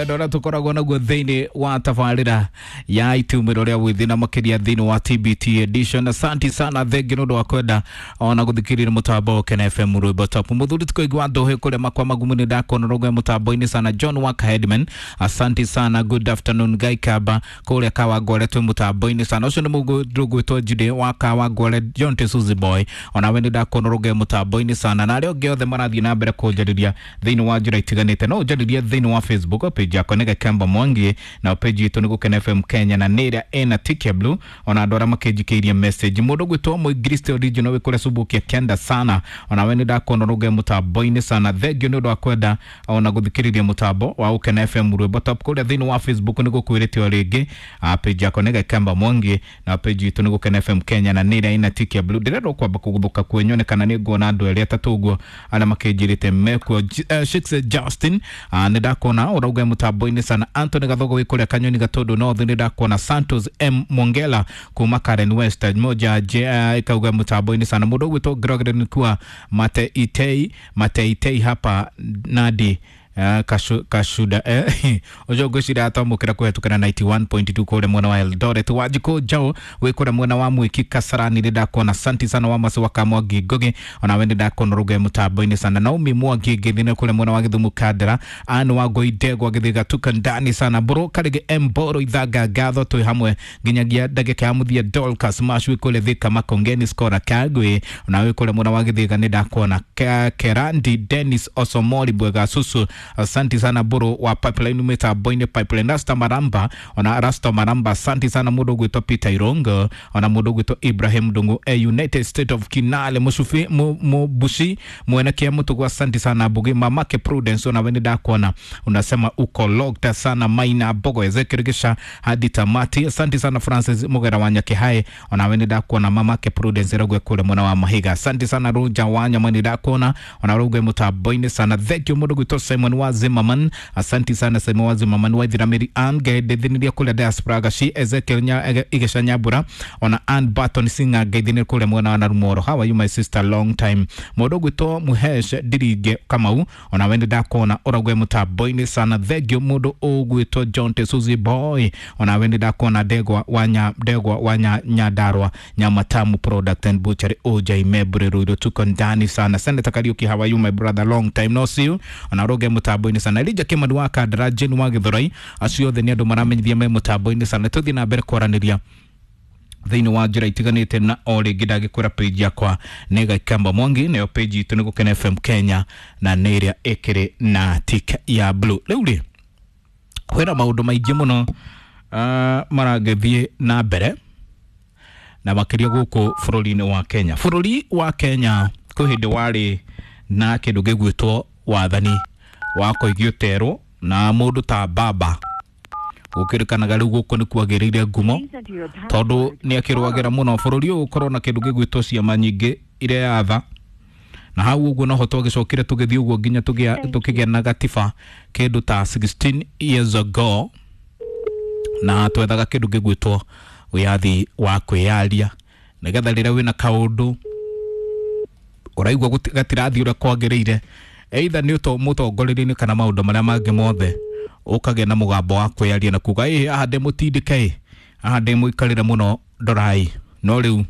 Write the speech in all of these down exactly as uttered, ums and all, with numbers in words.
Wendo ũrĩa tũkoragwo naguo thĩinĩ wa tabarĩra ya itumĩro rĩa wĩthĩ na makĩria thĩinĩ wa T B T edition. Asante sana, thengi nĩ ũndũ wa kwenda ona gũthikĩrĩria mũtambo wa Kena F M rwĩmbo top. Mũthuri tũkoigua ndũhĩ kũrĩa makwa magumu nĩ ndakuona rũgwe mũtambo-inĩ sana. John Waka Headman, asante sana, good afternoon Guy Kaba kũrĩa Kawangware twĩ mũtambo-inĩ sana. Ũcio nĩ mũndũ ũgwĩtwo Jude wa Kawangware, John Tesuzi Boy, onawe nĩ ndakuona rũgwe mũtambo-inĩ sana, na arĩa angĩ othe marathiĩ na mbere kũnjarĩria thĩinĩ wa njĩra itiganĩte. No ũnjarĩrie thĩinĩ wa Facebook page yakwa nĩ Gakemba Mwangi, na page itũ nĩ Gũkena F M Kenya, na nĩ ĩrĩa ĩna tick ya blue. Ona andũ arĩa makĩnjikĩirie message, mũndũ ũgwĩtwo Mũingiristi original wĩ kũrĩa Subukia Kenda sana, onawe nĩ ndakuona rũgwe mũtambo-inĩ sana. Thengiũ nĩ ũndũ wa kwenda ona gũthikĩrĩria mũtambo wa Gũkena F M rwĩmbo top kũrĩa thĩinĩ wa Facebook nĩ gũkwĩrĩte o rĩngĩ. Page yakwa nĩ Gakemba Mwangi, na page itũ nĩ Gũkena F M Kenya, na nĩ ĩrĩa ĩna tick ya blue. Ndĩrenda kwamba kũgũthũka kwenyone kana nĩ nguona andũ erĩ atatũ ũguo arĩa makĩnjĩrĩte mekuo. Shix Justin, nĩ ndakuona ũrauga mũtambo-inĩ sana. Anthony Gathogo wĩ kũrĩa Kanyoni Gatũndũ North, nĩ ndakuona. Santos M Mongela kuma Karen West moja ikauga mũtambo-inĩ sana. Mũndũ ũgwĩtwo Gregory Nkua Mate Itei, Mate Itei hapa Nadi Uh, kashu, kashuda eh ojo gwicira atamukira kuhetukana ninety-one point two kule mwena wa Eldoret. Wajiko Jao wi kule mwena wa Mwiki Kasarani ndakona. Asante sana wa Masi wa Kamwangi Ngugi, ona we ndakona ruge mutambo-inĩ sana. Naomi Mwangi ngithine kule mwena wa Githumu Kandara. Anu wa Goidegwa githiga tuka ndani sana. Boro Karige Mboro ithaga ngatho twi hamwe nginyagia ndagika ya muthia. Dorcas Mash wi kule Thika Makongeni Skora Kagwe, ona wi kule mwena wa Githiga ni ndakona. Kerandi Dennis Osomori Bwega Susu, asante sana boro wa pipeline mitambo-inĩ pipeline. Rasta Maramba, ona Rasta Maramba, asante sana. Mũndũ ũgwĩtwo Peter Irongo, ona mũndũ ũgwĩtwo Ibrahim Ndungu, eh, United State of Kinale Mushufi Mubushi mwene kia Mutugu, asante sana. Bugi Mamake Prudence, ona we ndakuona unasema uko locked sana. Maina Bogo Ezekiel Gisha hadi tamati, asante sana. Francis Mugera wa Nyakihae, ona we ndakuona. Mamake Prudence rogwe kule mwana wa Mahiga, asante sana. Ruja wa Nyamani ndakuona, ona rogwe mutambo-inĩ sana. Thank you mũndũ ũgwĩtwo Simon wa Zimmerman, asante sana Simon wa Zimmerman wa Ithiramiri Ann Gaithiniria kule diaspora gaci Ezekiel nya Igesha Nyambura, ona Ann Barton Singer Gaithiniria kule mwena wa Narumoro. How are you my sister, long time. Mũndũ ũgwĩtwo Muhesh Ndirige Kamau, ona we ndakuona ũragwe mutambo-inĩ sana. Thank you mũndũ ũgwĩtwo John Tesuzi Boy, ona we ndakuona. Ndegwa wa nya Ndegwa wa nya Nyandarua Nyamatamu Product and Butchery O J Mebre Ruiru, tuko ndani sana. Senator Kariuki, how are you my brother, long time no see you, ona roge mutambo-inĩ sana. Elijah Kimani wa Kandara, Jane wa Githurai, acio othe nĩ andũ maramenyithia me mutambo-inĩ sana. Tũthiĩ na mbere kwaranĩria thĩinĩ wa njĩra itiganĩte, na o rĩngĩ ndagĩkwĩra page yakwa nĩ Gakemba Mwangi, nayo page itũ nĩ Gũkena F M Kenya, na nĩ ĩrĩa ĩkĩrĩ na tick ya blue. Rĩu rĩ kwĩna maũndũ maingĩ mũno uh, maragĩthiĩ na mbere na makĩria gũkũ bũrũri-inĩ wa Kenya. Bũrũri wa Kenya kwĩ hĩndĩ warĩ na kĩndũ gĩgwĩtwo wathani wa kũigio terwo na mũndũ ta baba gũkĩrĩkanaga rĩu gũkũ nĩ kwagĩrĩire ngumo tondũ nĩ akĩrũagĩra mũno bũrũri ũyũ ũkorwo na kĩndũ gĩgwĩtwo ciama nyingĩ iria yatha, na hau ũguo noho twagĩcokire tũgĩthiĩ ũguo nginya tũkĩgĩa na gatiba kĩndũ ta sixteen years ago, na twethaga kĩndũ gĩgwĩtwo wĩyathi wa kwĩyaria nĩgetha rĩrĩa wĩna kaũndũ ũraigua gatirathiĩ ũrĩa kwagĩrĩire, either nĩ mũtongoria-inĩ kana maũndũ marĩa mangĩ mothe, ũkagĩa na mũgambo wa kwĩyaria na kuga ĩ haha ndĩmũtindĩke, haha ndĩmũikarĩre mũno ndorai. No rĩu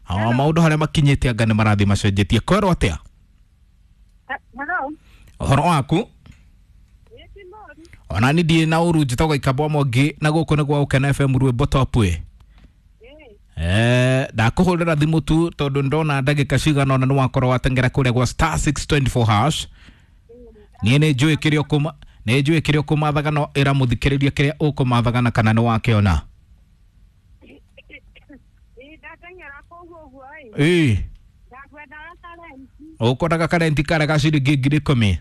maũndũ harĩa makinyĩte anga nĩ marathiĩ macenjetie. Kwerwo atĩa? Ũhoro waku? Ona ni ndiĩ na ũru, njĩtagwo Gakemba Mwangi na gũkũ nĩ gwa Gũkena F M rwĩmbo top ĩ. Eh, ndakũhũrĩra thimũ tu tondũ ndona ndagĩka cigana ũna nĩ wakorwo wateng'era kũrĩa gwa star six two four hash. Niĩ nĩ njũĩ kĩrĩa ũkũma nĩ njũĩ kĩrĩa ũkũmathaga, no ĩra mũthikĩrĩria kĩrĩa ũkũmathaga na kana nĩ wakĩona. Ĩĩ ũkwendaga karenti karĩa ga ciringi ngiri ikũmi,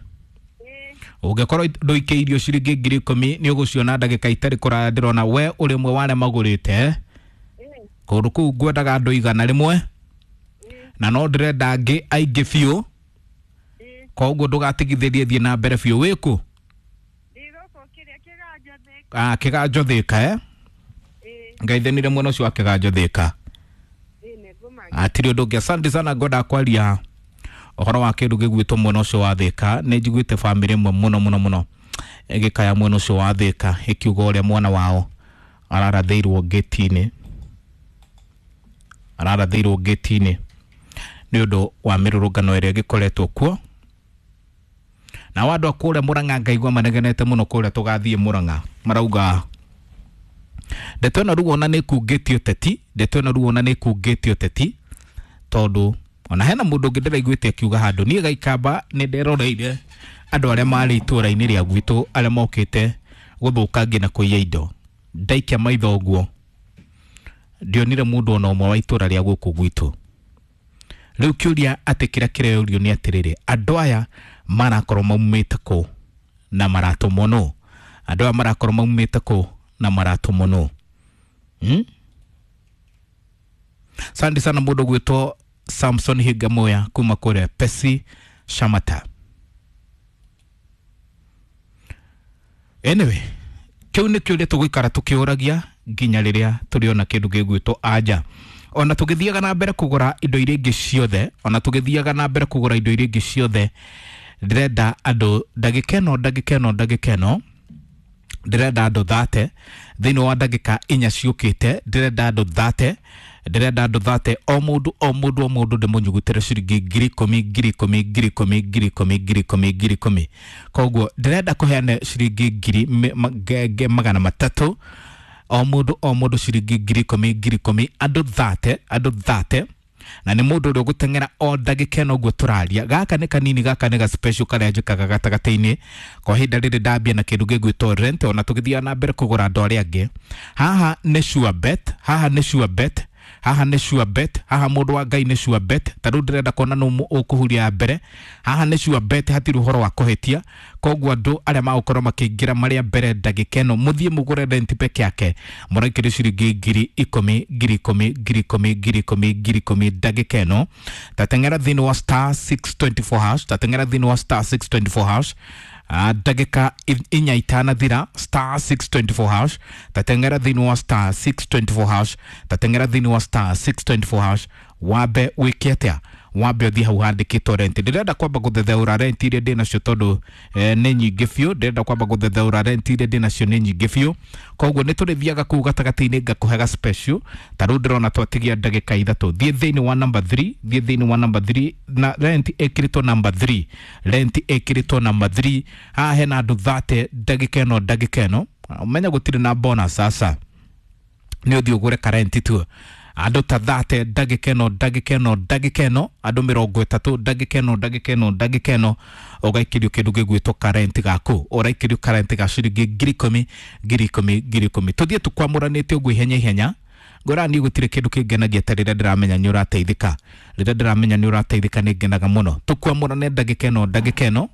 ũngĩkorwo ndũikĩirio ciringi ngiri ikũmi nĩ ũgũciona ndagĩka itarĩ kũraya. Ndĩrona we ũrĩ ũmwe wa arĩa magũrĩte kũndũ kũu ngwendaga andũ igana rĩmwe, na no ndĩrenda angĩ aingĩ biũ, koguo ndũgatigithĩrie, thiĩ na mbere biũ. Wĩkũ? Ah, Kĩganjo Thĩka eh? Ngaithanire mwena ũcio wa Kĩganjo Thĩka. Atirĩ ũndũ ũngĩ. Asante sana, ngwendaga kwaria ũhoro wa kĩndũ gĩgwĩtwo mwena ũcio wa Thĩka. Nĩ njiguĩte bamĩrĩ ĩmwe mũno mũno mũno Ĩgĩkaya mwena ũcio wa Thĩka ĩkiuga ũrĩa mwana wao ararathĩirwo ngĩti-inĩ, ararathĩirwo ngĩti-inĩ nĩ ũndũ wa mĩrũrũngano ĩrĩa ĩgĩkoretwo kuo. Na andũ a kũrĩa Mũrang'a ngaigua manegenete mũno kũrĩa tũgathiĩ Mũrang'a, marauga ndeto ĩno rĩu ona nĩ ĩkungĩtie ũteti, ndeto ĩno rĩu ona nĩ ĩkungĩtie ũteti, tondũ ona hena mũndũ ũngĩ ndĩraiguĩte akiuga handũ, niĩ Gaikamba nĩ nderoreire andũ arĩa marĩ itũũra-inĩ rĩa gwitũ arĩa mokĩte gũthũkangia na kũiya indo. Ndaikia maitho ũguo ndionire mũndũ ona ũmwe wa itũũra rĩa gũkũ gwitũ. Rĩu kĩũria atĩ kĩrĩa kĩreyũrio nĩ atĩrĩrĩ, andũ aya marakorwo maumĩte kũ na maratũmwo nũ? Andũ aya marakorwo maumĩte kũ na maratũmwo nũ? Hmm? Asante sana mũndũ gwĩtwo Samson Higamoya kuma kũrĩa Pesi Shamata. Anyway, kĩu nĩ kĩũria tũgũikara tũkĩũragia nginya rĩrĩa tũrĩona kĩndũ gĩgwĩtwo anja. Ona tũgĩthiaga na mbere kũgũra indo iria ingĩ ciothe, ona tũgĩthiaga na mbere kũgũra indo iria ingĩ ciothe, ndĩrenda andũ ndagĩka ĩno, ndagĩka ĩno, ndagĩka ĩno, ndĩrenda andũ thate thĩinĩ wa ndagĩka inya ciũkĩte, ndĩrenda andũ thate, ndĩrenda andũ thate, o mũndũ o mũndũ o mũndũ ndĩmũnyugutĩre ciringi ngiri ikũmi, ngiri ikũmi, ngiri ikũmi, ngiri ikũmi, ngiri ikũmi, ngiri ikũmi. Koguo ndĩrenda kũheana ciringi ngiri magana matatũ o mũndũ o mũndũ ciringi ngiri ikũmi, ngiri ikũmi, andũ thate, andũ thate, na nĩ mũndũ ũrĩa ũgũteng'era o ndagĩka ĩno ũguo tũraria. Gaka nĩ kanini, gaka nĩ ga special karĩa njĩkaga gatagatĩ-inĩ kwa ihinda rĩrĩ ndambia na kĩndũ gĩgwĩtwo rent, ona tũgĩthiaga na mbere kũgũra andũ arĩa angĩ. Haha nĩ sure bet, haha nĩ sure bet, haha nĩ sure bet, haha mũndũ wa Ngai nĩ sure bet. Ta rĩu ndĩrenda kuona nũ ũkũhuria ya mbere. Haha nĩ sure bet, hatirĩ ũhoro wa kũhĩtia. Koguo andũ arĩa magũkorwo makĩingĩra marĩa mbere ndagĩka ĩno, mũthiĩ mũgũre rent peke yake, mũraikĩrio ciringi ngiri ikũmi, ngiri ikũmi, ngiri ikũmi, ngiri ikũmi, ngiri ikũmi ndagĩka ĩno. Tateng'era thĩinĩ wa star six twenty four hash, tateng'era thĩinĩ wa star six twenty four hash, ndagĩka inya itanathira, star six twenty four hash, tateng'era thĩinĩ wa star six twenty four hash, tateng'era thĩinĩ wa star six twenty four hash, wambe wĩke atĩa? Wambe ũthiĩ hau handĩkĩtwo rent. Ndĩrenda kwamba gũthetheũra rent iria ndĩ nacio tondũ eh, nĩ nyingĩ biũ. Ndĩrenda kwamba gũthetheũra rent iria ndĩ nacio nĩ nyingĩ biũ. Koguo nĩ tũrĩthiaga kũu gatagatĩ-inĩ ngakũhega special. Ta rĩu ndĩrona twatigia ndagĩka ithatũ. Thiĩ thĩinĩ wa number three, thiĩ thĩinĩ wa number three, na rent ĩkĩrĩtwo number three, rent ĩkĩrĩtwo number three. Haha hena andũ thate ndagĩka ĩno, ndagĩka ĩno. Ũmenya gũtirĩ na bonus sasa, nĩ ũthiĩ ũgũre karenti tu. Andũ ta thate ndagĩka ĩno, ndagĩka ĩno, ndagĩka ĩno, andũ mĩrongo ĩtatũ ndagĩka ĩno, ndagĩka ĩno, ndagĩka ĩno, ũgaikĩrio kĩndũ gĩgwĩtwo karenti gaku, ũraikĩrio karenti ga ciringi ngiri ikũmi, ngiri ikũmi, ngiri ikũmi. Tũthiĩ tũkwamũranĩte ũguo ihenya ihenya. Ngora niĩ gũtirĩ kĩndũ kĩngenagia ta rĩrĩa ndĩramenya nĩ ũrateithĩka. Rĩrĩa ndĩramenya nĩ ũrateithĩka nĩ ngenaga mũno. Tũkwamũrane ndagĩka ĩno, ndagĩka ĩno,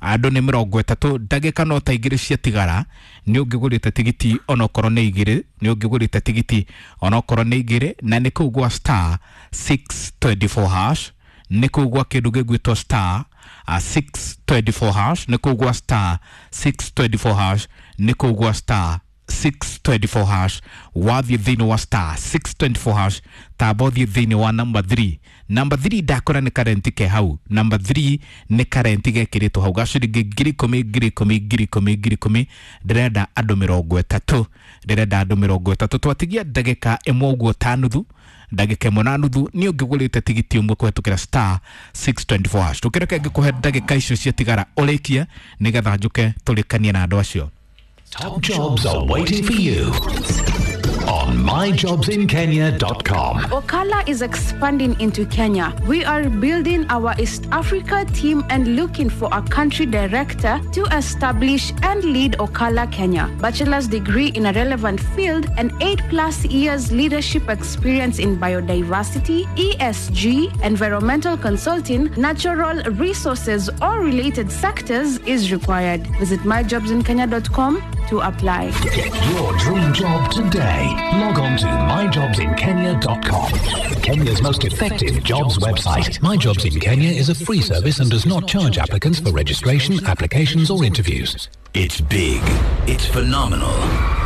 andũ nĩ mĩrongo ĩtatũ, ndagĩka no ta igĩrĩ ciatigara, nĩ ũngĩgũrĩte tigiti onokorwo nĩ igĩrĩ, nĩ ũngĩgũrĩte tigiti onokorwo nĩ igĩrĩ, na nĩ kũu gwa star six twenty four hash, nĩ kũu gwa kĩndũ gĩgwĩtwo star six twenty four hash, nĩ kũu gwa star six twenty four hash, nĩ kũu gwa star six twenty four hash. Wathiĩ thĩinĩ wa star six twenty four hash, tamba ũthiĩ thĩinĩ wa number three. Number three ndakora nĩ karenti ke hau. Number three nĩ karenti gekĩrĩtwo hau ga ciringi ngiri ikũmi, ngiri ikũmi, ngiri ikũmi, ngiri ikũmi. Ndĩrenda andũ mĩrongo ĩtatũ, ndĩrenda andũ mĩrongo ĩtatũ. Twatigia ndagĩka ĩmwe ũguo ta nuthu, ndagĩka ĩmwe na nuthu, nĩ ũngĩgũrĩte tigiti ũmwe kũhetũkĩra star six twenty four hash. Tũkĩreke ngĩkũhe ndagĩka icio ciatigara ũrĩkie, nĩgetha njũke tũrĩkanie na andũ acio. Top jobs are waiting for you on my jobs in kenya dot com. Okala is expanding into Kenya. We are building our East Africa team and looking for a country director to establish and lead Okala Kenya. Bachelor's degree in a relevant field and eight plus years leadership experience in biodiversity, E S G, environmental consulting, natural resources or related sectors is required. Visit my jobs in kenya dot com to apply. Get your dream job today. Log on to my jobs in kenya dot com. Kenya's most effective jobs website. My Jobs in Kenya is a free service and does not charge applicants for registration, applications or interviews. It's big, it's phenomenal,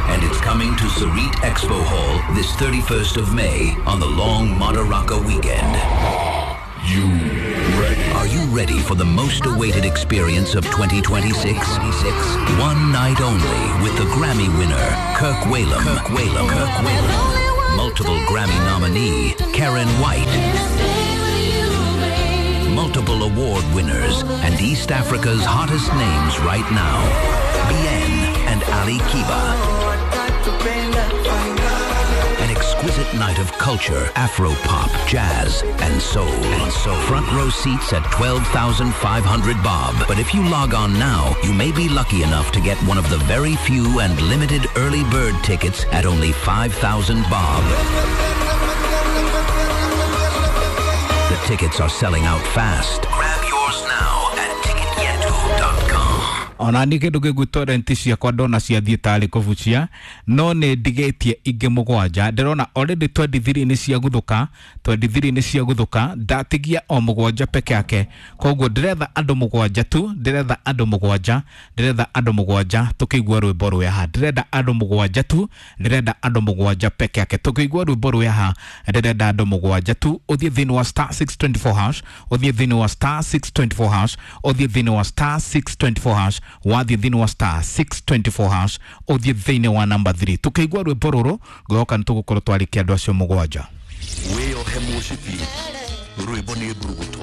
and it's coming to Sarit Expo Hall this thirty-first of May on the long Madaraka weekend. You ready? Are Are you ready for the most awaited experience of twenty twenty-six? One night only with the Grammy winner, Kirk Whalum. Kirk Whalum. Kirk Whalum. Multiple Grammy nominee, Karen White. Multiple award winners and East Africa's hottest names right now, Bien and Ali Kiba. An exquisite night of culture, Afro-pop, jazz, and soul. And soul. Front row seats at twelve thousand five hundred bob. But if you log on now, you may be lucky enough to get one of the very few and limited early bird tickets at only five thousand bob. The tickets are selling out fast. Grab yours now at ticket yetu dot com. Ona nä kä ndå gä gwä renti ciakwa ndona ciathiä tarä kå bucia no nä ndigä tie ingä må gwanja ndärona already twenty-three nä ciaguthå ka twenty-three nä ciaguthå ka ndatigia o må gwanja peke yake koguo ndäretha andå må gwanja tu ndäretha andå må gwanja ndäretha andå må gwanja tå kä igua rwä mbo rwä haha ndärenda andå må gwanja tu ndärenda andå må gwanja peke yake tå kä igua rwä mbo rwä haha ndärenda andå må gwanja tu å thiä thä inä wa star six twenty-four hash å thiä thä inä wa star six twenty-four hash å thiä thä inä wa star six twenty-four hash wathiä thä inä wa star six twenty-four hash å thiä thä inä wa namba three tå kä igua rwä mbo rå rå ngoka nä tå gå korwo twarä kia andå acio må gwanja wĩyohe mũcibi rwĩmbo nĩ mburuguto.